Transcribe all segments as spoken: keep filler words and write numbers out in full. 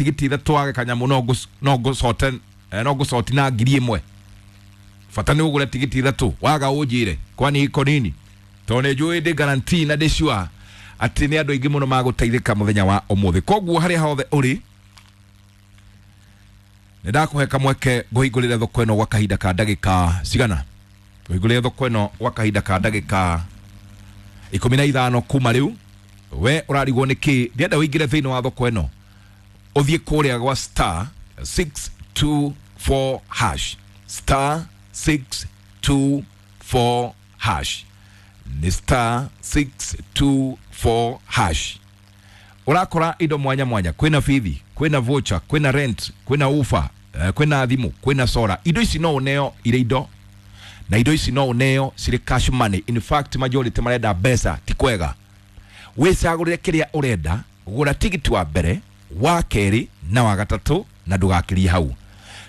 Tigiti ithatũ wage kanyamũ no ngũ- no ngũcote eh, no ngũcoti na ngiri ĩmwe. Bata nĩ ũgũre tigiti ithatũ, waga ũnjĩre kwani iko nini, tondũ nĩ njũĩ ndĩ guarantee na ndĩ sure atĩ nĩ andũ aingĩ mũno magũteithĩka mũthenya wa ũmũthĩ. Koguo harĩa hothe ũrĩ, nĩ ndakũhe kamweke ngũhingũrĩre thoko ĩno gwa kahinda ka ndagĩka cigana, ngũhingũrĩre thoko ĩno gwa kahinda ka ndagĩka ikũmi na ithano kuma rĩu. We ũrarigwo nĩ kĩ? Ndĩrenda ũingĩre thĩinĩ wa thoko ĩno, ũthiĩ kũrĩa gwa star six two four hash, star six two four hash, nĩ star six two four hash. Ũrakora indo mwanya mwanya, kwĩna bithi, kwĩna voucher, kwĩna rent, kwĩna ufa, eh, kwĩna thimũ, kwĩna sora. Indo ici no ũneo irĩ indo, na indo ici no ũneo cirĩ cash money. In fact, majority marenda mbeca. Ti kwega wĩcagũrĩre kĩrĩa ũrenda. Gũra tigiti wa mbere, wa kerĩ na wa gatatũ, na ndũgakĩrie hau.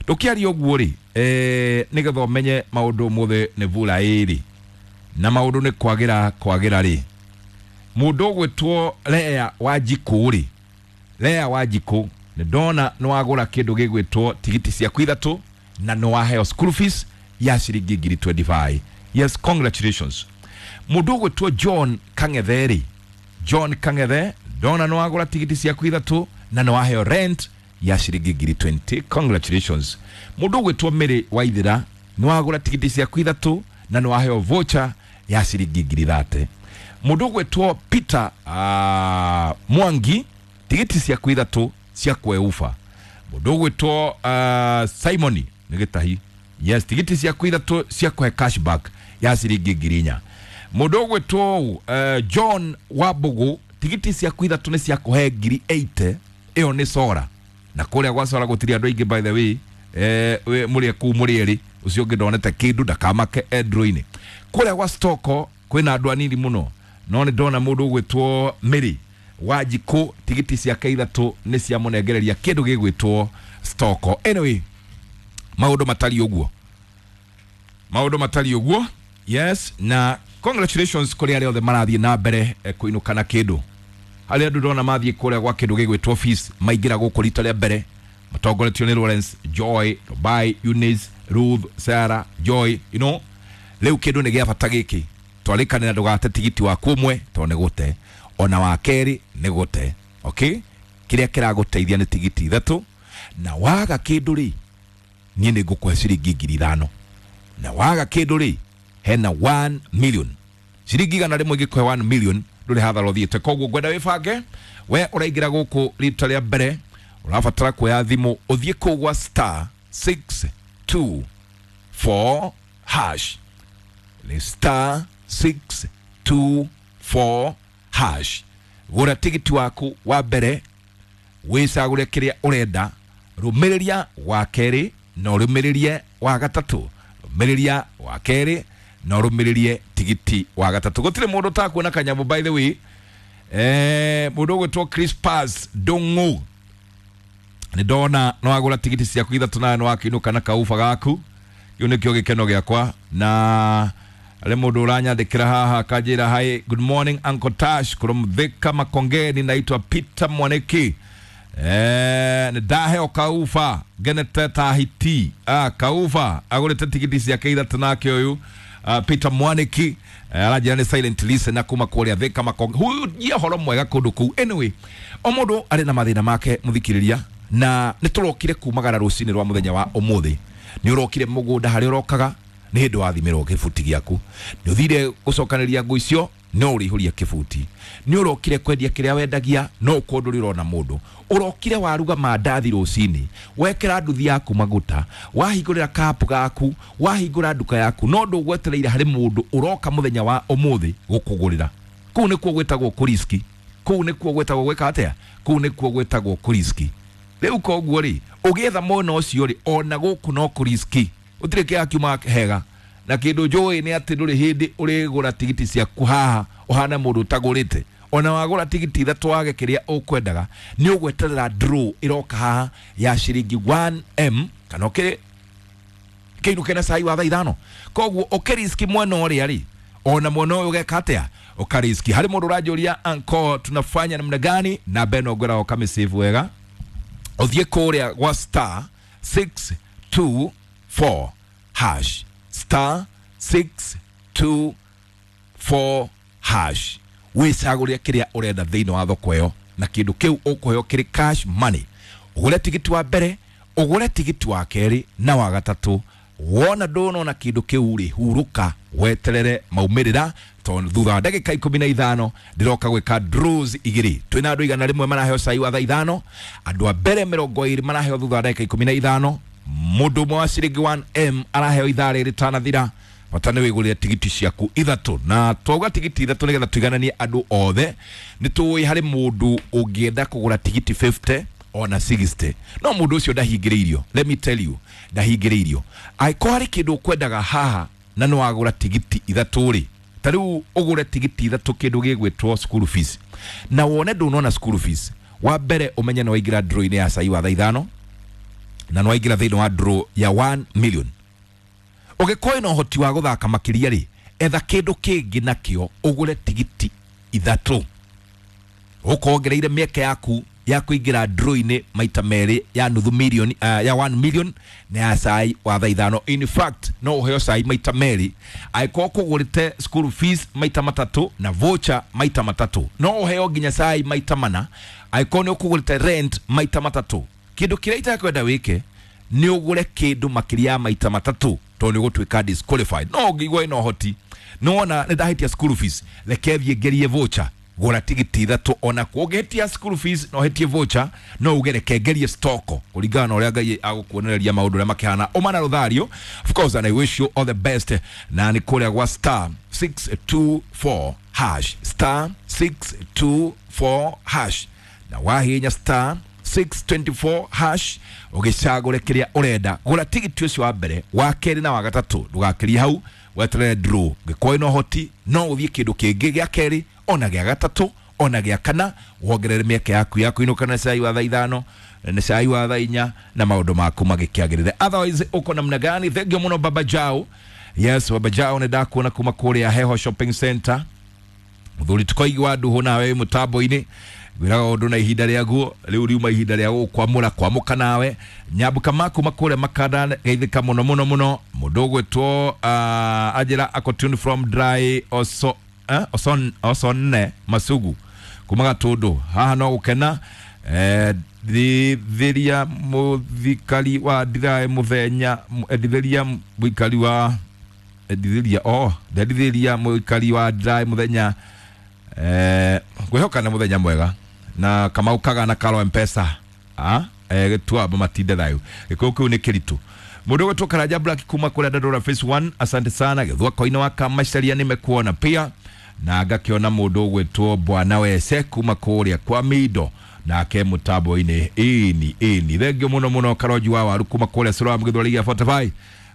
Ndũkĩaria ũguo rĩ, eh, nĩgetha ũmenye maũndũ ũmũthĩ nĩ vura ĩrĩ na maũndũ nĩ kwagĩra kwagĩra rĩ. Mũndũ ũgwĩtwo Lea wa Njikũ rĩ, Lea wa Njikũ, nĩ ndona nĩ wagũra kĩndũ gĩgwĩtwo tigiti ciaku ithatũ na nĩ waheo school fees ya ciringi ngiri mĩrongo ĩrĩ na ithano. Yes, congratulations. Mũndũ ũgwĩtwo John Kang'ethe rĩ, John Kang'ethe, ndona nĩ wagũra tigiti ciaku ithatũ na nĩ waheo rent ya ciringi ngiri mĩrongo ĩrĩ. Congratulations. Mũndũ ũgwĩtwo Mary Waithĩra, nĩ wagũra tigiti ciaku ithatũ na nĩ waheo voucher ya ciringi ngiri mĩrongo ĩtatũ. Mũndũ ũgwĩtwo Peter uh, Mwangi, tigiti ciaku ithatũ cia kweuba. Mũndũ ũgwĩtwo uh, Simon nĩ gĩtahi, yes, tigiti ciaku ithatũ cia kũhe cashback ya ciringi ngiri inya. Mũndũ ũgwĩtwo uh, John Wambugu, tigiti ciaku ithatũ nĩ cia kũhe ngiri mĩrongo ĩnane. Ĩyo nĩ sora, na kũrĩa gwa sora gũtirĩ andũ aingĩ, by the way. eh, we- mũrĩ kũu mũrĩ erĩ, ũcio ũngĩ ndonete kĩndũ, ndakamake endro-inĩ. Kũrĩa gwa stoko kwĩna andũ anini mũno, no nĩ ndona mũndũ ũgwĩtwo Mary Wanjikũ, tigiti ciake ithatũ nĩ ciamũnengereria kĩndũ gĩgwĩtwo stoko. Anyway, maũndũ matariĩ ũguo, maũndũ matariĩ ũguo. Yes, na congratulations kũrĩ arĩa othe marathiĩ na mbere eh, kũinũka na kĩndũ. Harĩa andũ ndona mathiĩ kũrĩa gwa kĩndũ gĩgwĩtwo fees, maingĩra gũkũ rita rĩa mbere, matongoretio nĩ Lawrence, Joy, Dubai, Eunice, Ruth, Sarah, Joy. You know rĩu kĩndũ nĩ gĩa bata gĩkĩ. Twarĩkanĩra ndũgate tigiti waku ũmwe, tondũ nĩ gũte, ona wa kerĩ nĩ gũte. Okay, kĩrĩa kĩragũteithia nĩ tigiti ithatũ, na waga kĩndũ rĩ, niĩ nĩ ngũkũhe ciringi ngiri ithano, na waga kĩndũ rĩ, hena one million, ciringi igana rĩmwe ingĩkũhe one million, ndũrĩ hathara ũthiĩte. Koguo ngwenda wĩbange. We ũraingĩra gũkũ rita rĩa mbere, ũrabatara kuoya thimũ, ũthiĩ kũu gwa star six two four hash, nĩ star six two four hash. Gũra tigiti waku wa mbere, wĩcagũre kĩrĩa ũrenda, rũmĩrĩria wa kerĩ na ũrũmĩrĩrie wa gatatũ, rũmĩrĩria wa kerĩ na ũrũmĩrĩrie tigiti wa gatatũ. Gũtirĩ mũndũ ũtakuona kanyamũ. By the way, eh, mũndũ ũgwĩtwo Crispas Ndung'u, nĩ ndona no wagũra tigiti ciaku ithatũ nawe nĩ wakĩinũka na kauba gaku. Kĩu nĩkĩo gĩkeno gĩakwa. Na arĩ mũndũ ũranyandĩkĩra haha akanjĩra, "Hi, good morning, Uncle Tash from Thika Makongeni. Naitwa Peter Mwaniki. Eh, nĩ ndaheo kauba, ngenete ta hiti." ah, kauba agũrĩte tigiti ciake ithatũ. Nake ũyũ uh, Peter Mwaniki eh, aranjĩra nĩ silent listener kuma kũrĩa Thika Makonge. Huyu horo mwega kũndũ kũu. Anyway, o mũndũ arĩ na mathĩna make, mũthikĩrĩria, na nĩ tũrokire kumagara rũcinĩ rwa mũthenya wa ũmũthĩ. Nĩ ũrokire mũgũnda harĩa ũrokaga, nĩ hĩndĩ wathimĩrwo kĩbuti gĩaku, nĩ ũthire gũcokanĩria ngũ icio, no ũrĩihũria kĩbuti. Nĩ ũrokire kwendia kĩrĩa wendagia, no ũkorwo ndũrĩ ũrona mũndũ. Ũrokire waruga mandathi rũcinĩ, wekĩra nduthi yaku maguta, wahingũrĩra kapu gaku, wahingũra nduka yaku, no ndũgwetereire harĩ mũndũ ũroka mũthenya wa ũmũthĩ gũkũgũrĩra. Kũu nĩkuo gwĩtagwo kũriski. Kũu nĩkuo gwĩtagwo gwĩka atĩa? Kũu nĩkuo gwĩtagwo kũriski. Rĩu koguo rĩ, ũgĩetha mwena ũcio rĩ, ona gũkũ no kũriski, gũtirĩ kĩrĩa kiuma hega. Na kĩndũ njũĩ nĩ atĩ ndũrĩ hĩndĩ ũrĩgũra tigiti ciaku haha ũhana mũndũ ũtagũrĩte. Ona wagũra tigiti ithatũ wage kĩrĩa ũkwendaga, nĩ ũgweterera draw ĩroka haha ya ciringi one M kana ũkĩrĩ kĩinũke na cai wa thaa ithano. Koguo ũkĩriski mwena ũrĩa rĩ, ona mwena ũyũ ũgeka atĩa? Ũkariski. Harĩ mũndũ ũranjũria, "Anko, tunafanya namna gani?" Namba ĩno ngwĩraga ũkamĩsave wega. Ũthiĩ kũrĩa gwa star six two four hash, star six two four hash, wĩcagũrĩre kĩrĩa ũrenda thĩinĩ wa thoko ĩyo, na kĩndũ kĩu ũkũheo kĩrĩ cash money. Ũgũre tigiti wa mbere, ũgũre tigiti wa kerĩ na wa gatatũ. Wona ndũnona kĩndũ kĩu rĩ, hurũka weterere maumĩrĩra, tondũ thutha wa ndagĩka ikũmi na ithano ndĩroka gwĩka draws igĩrĩ. Twĩna andũ igana rĩmwe maraheo cai wa thaa ithano, andũ a mbere mĩrongo ĩrĩ maraheo thutha wa ndagĩka ikũmi na ithano, mũndũ ũmwe wa ciringi one M araheo ithaa rĩrĩ rĩtanathira. Bata nĩ wĩgũrĩre tigiti ciaku ithatũ, na twauga tigiti ithatũ nĩgetha tũigananie andũ othe. Nĩ tũĩ harĩ mũndũ ũngĩenda kũgũra tigiti fifty ona sixty, no mũndũ ũcio ndahingĩrĩirio. Let me tell you, ndahingĩrĩirio. Angĩkorwo harĩ kĩndũ ũkwendaga haha na nĩ wagũra tigiti ithatũ rĩ, ta rĩu ũgũre tigiti ithatũ kĩndũ gĩgwĩtwo school fees, na wone ndũnona school fees, wa mbere ũmenye nĩ waingĩra draw-inĩ ya cai wa thaa ithano, na nĩ waingĩra thĩinĩ wa draw ya one million. Ũngĩkorwo wĩna ũhoti wa gũthaka makĩria rĩ, etha kĩndũ kĩngĩ nakĩo ũgũre tigiti ithatũ, ũkongereire mĩeke yaku ya kũingĩra draw-inĩ maita merĩ ya nuthu milioni, uh, ya one million na ya cai wa thaa ithano. In fact, no ũheo cai maita merĩ angĩkorwo kũgũrĩte school fees maita matatũ na voucher maita matatũ. No ũheo nginya cai maita mana angĩkorwo nĩ ũkũgũrĩte rent maita matatũ. Kĩndũ kĩrĩa itakwenda wĩke nĩ ũgũre kĩndũ makĩria ya maita matatũ, tondũ nĩ ũgũtuĩka disqualified. No ũngĩigua wĩna ũhoti, nĩwona nĩ ndahĩtia school fees, reke thiĩ ngerie voucher, gũra tigiti ithatũ. Ona kuo ũngĩhĩtia school fees na ũhĩtie voucher, no uge reke ngerie stock kũringana na ũrĩa Ngai agũkuonereria maũndũ ũrĩa makĩhana. Ũma na rũthario, of course, and I wish you all the best. Na nĩ kũrĩa gwa star six two four hash, star six two four hash, na wahinya star six twenty-four hash ũgĩcagũre kĩrĩa ũrenda. Gũra tigiti ũcio wa mbere, wa kerĩ na wa gatatũ, ndũgakĩrie hau, weterere draw. Ũngĩkorwo wĩna ũhoti no ũthiĩ kĩndũ kĩngĩ gĩa kerĩ ona gĩa gatatũ ona gĩa kana, wongerere mĩeke yaku ya kũinũka na cai wa thaa ithano na cai wa thaa inya na maũndũ maku magĩkĩagĩrĩre. Otherwise uko namna gani? Thank you mũno Baba Jao. Yes, Baba Jao nĩ ndakuona kuma kũrĩa Heho Shopping Center. Mũthuri tũkoigua ndũhũ nawe mũtambo-inĩ, ngwĩraga ũndũ na ihinda rĩaguo rĩu riuma ihinda rĩa gũkwamũra kwamũka nawe. Nyambuka maku makũrĩa makanda geithĩka mũno mũno mũno. Mũndũ ũgwĩtwo, uh, anjĩra ako tune from dry oso, eh, oson, osonne masugu kuma Gatũndũ. Haha no gũkena. Eh, ndithiria mũthikari wa ndirae mũthenya, ndithiria mũikari wa ndithiria, oh, ndithiria mũikari wa ndirae mũthenya. Eh, ngwĩhoka nĩ mũthenya mwega na Kamau Kaga na Karo M-Pesa. Ah, eh, gĩtuamba matinde thayũ. Gĩkũyũ kĩu nĩ kĩritũ. Mũndũ ũgwĩtwo Karanja Black kuma kũrĩa Dandora Phase one, asante sana. Gĩthua koine wa Kamacaria nĩmekuona pia, na ngakĩona mũndũ ũgwĩtwo Bwana Wese kuma kũrĩa kwa Mido nake mũtambo-inĩ. Ĩni, ĩni. Thengio mũno mũno Karonji wa Waru kuma kũrĩa Sura Mũgĩthweri gĩa forty-five.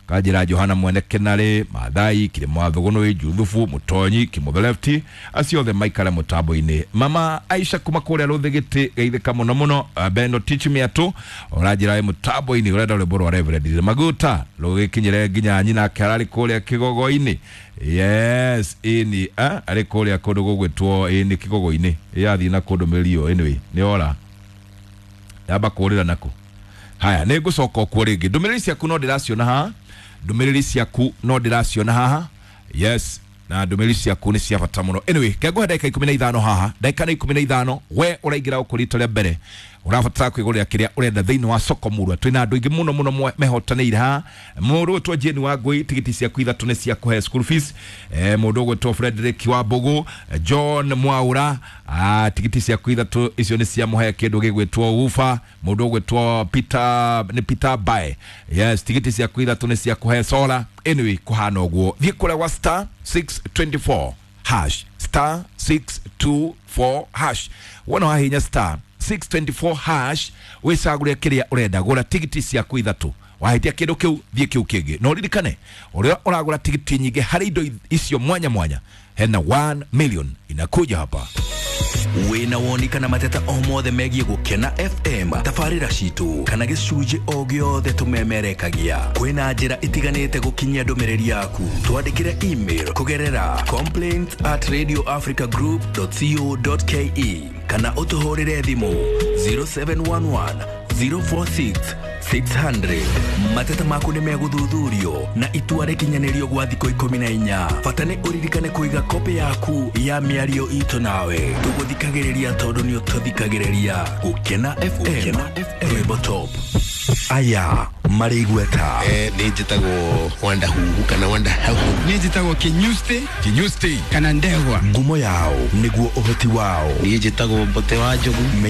Kanjĩra Johana Mwene Kenarĩ, Maathai, Kĩrĩma wa Thũgũnũĩ, Juthubu, Mũtonyi, Kĩmũthe Lefty, acio othe maikare mũtambo-inĩ. Mama Aisha kuma kũrĩa Rũthĩgĩtĩ, geithĩka mũno mũno. Beno Teach Me Atũ, ũranjĩra wĩ mũtambo-inĩ, ũrenda rwĩmbo rwa Reverend Maguta rũgĩkinyĩre nginya nyina ake ararĩ kũrĩa Kĩgogo-inĩ. Yes, ĩni, eh, arĩ kũrĩa kũndũ gũgwĩtwo ĩni Kĩgogo-inĩ. Yathiĩ na kũndũ mĩrio, anyway, nĩ ora. Yamba kũrĩra nako. Haya, nĩ ngũcoka kuo rĩngĩ. Ndũmĩrĩri ciaku no ndĩraciona haha. Ndũmĩrĩri ciaku no ndĩraciona haha. Yes, na ndũmĩrĩri ciaku nĩ cia bata mũno. Anyway, kengũhe ndagĩka ikũmi na ithano haha. Ndagĩka nĩ ikũmi na ithano, we ũraingĩra gũkũ rita rĩa mbere, ũrabatara kwĩgũrĩra kĩrĩa ũrenda thĩinĩ wa soko murwa. Twĩna andũ aingĩ mũno mũno mehotanĩire haha. Mũndũ ũgwĩtwo Jane wa Ngũi, tigiti ciaku ithatũ nĩ cia kũhe school fees. Eh, mũndũ ũgwĩtwo Frederick wa Mbũgũ, John Mwaura, ah, tigiti ciaku ithatũ icio nĩ cia mũhe kĩndũ gĩgwĩtwo Ufa. Mũndũ ũgwĩtwo Peter, nĩ Peter Bae. Yes, tigiti ciaku ithatũ nĩ cia kũhe solar. Anyway, kũhana ũguo. Thiĩ kũrĩa gwa star six twenty-four hash, star six two four hash. Wona wahinya star six twenty-four hash, wĩcagũre kĩrĩa ũrenda. Gũra tigiti ciaku ithatũ. Wahĩtia kĩndũ kĩu, thiĩ kĩu kĩngĩ. Na ũririkane, ũrĩa ũragũra tigiti nyingĩ harĩ indo icio mwanya mwanya, hena one million inakuja hapa. Wĩna woni kana mateta o mothe megiĩ Gũkena F M, tabarĩra citũ kana gĩcunjĩ o gĩothe tũmemerekagia. Kwĩna njĩra itiganĩte gũkinyia ndũmĩrĩri yaku. Twandĩkĩre email kũgerera complaints at radio africa group dot co dot ke kana ũtũhũrĩre thimũ zero seven one one zero four six six hundred. Mateta maku nĩ megũthuthurio na itua rĩkinyanĩrio gwa thikũ ikũmi na inya. Bata nĩ ũririkane kũiga kopĩ yaku ya mĩario itũ nawe. Tũgũthikagĩrĩria tondũ nĩ ũtũthikagĩrĩria. Gũkena F M, rwĩmbo top. Aya marĩ igweta. Eh, nĩ njĩtagwo Wanda Huhu kana Wanda Huhu. Nĩ njĩtagwo Kinyusti. Kinyusti. Kana Ndegwa. Ngumo yao nĩguo ũhoti wao. Niĩ njĩtagwo Mbote wa Njogu. Menya